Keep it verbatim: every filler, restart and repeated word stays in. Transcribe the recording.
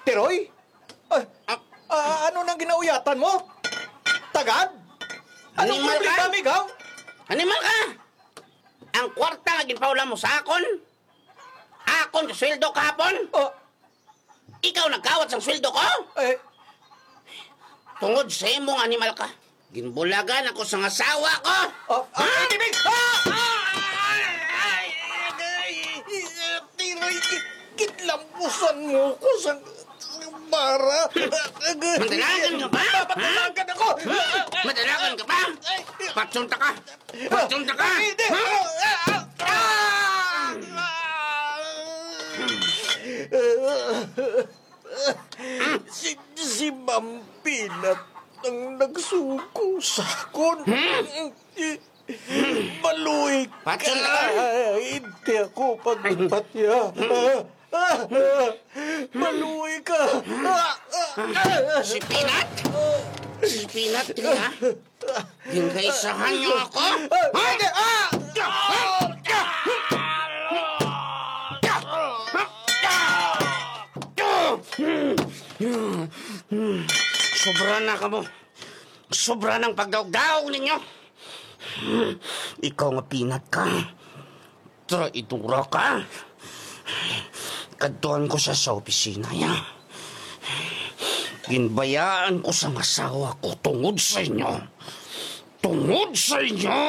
Tiroy? Ah, ah, ano nang ginauyatan mo? Tagad? Anong Animal problema, ka? Migaw? Animal ka! Ang kwarta nga ginpaulaw mo sa akon, akon sa sweldo kahapon. Oh. Ikaw nagkawat sang sweldo ko? Eh. Tungod sa imong animal ka, ginbulagan ako sang asawa ko. Oh, ah, Ha? Tibig! Ah! Ah! Ay, ay, ay, ay, Tiroy, gi-, gidlampusan mo ko sa, sa bara. Madalagan ka ba? Madalagan ako. Madalagan ka ba? Ay, ay. Patsunta ka. Patsunta ka. Ay, hindi. Ha? Ah! Ah! Ah! Si, si Ma'am Peanut ang nagsugo sa akon. Hmm? Maluoy ka. Patyon ka. Hindi ako pagpatya. Ah, ah, ah. Maluoy ka. Ah, ah, ah. Si Peanut? Si Peanut, dili, ha? Gingkaisahan niyo ako? Ah, hindi. Ah! Sobra na kamo. Sobra nang pagdaog-daog ninyo. Ikaw nga Peanut ka. Traidora ka. Kadtuan ko sa, sa opisina, ya. Ginbayaan ko sang asawa ko tungod sa inyo. Tungod sa inyo.